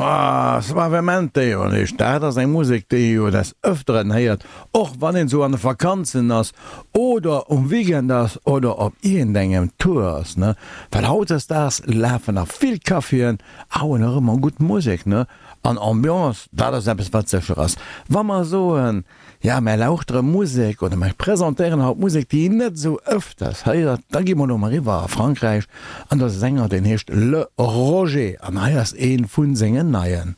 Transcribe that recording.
Ah, Suavemente jo nicht. Dat ass eng Musek, déi ee jo des Ëfteren héiert, och wann een sou an de Vakanzen ass oder um Weekend ass oder op iergendengem Tour ass, ne? Well hautdesdaags lafen nach vill Caféen a hunn och ëmmer gutt Musek, ne? An Ambiance, dat ass eppes, wat sécher ass. Wa mer soen, Ja, mär lauchtere Musek oder mär presentéieren haut Musek, déi een net esou ëfters héiert. Da gi mer elo mol eriwwer a Frankräich an do ass e Sänger, deen heescht Le Roger an hei ass ee vu sengen neien.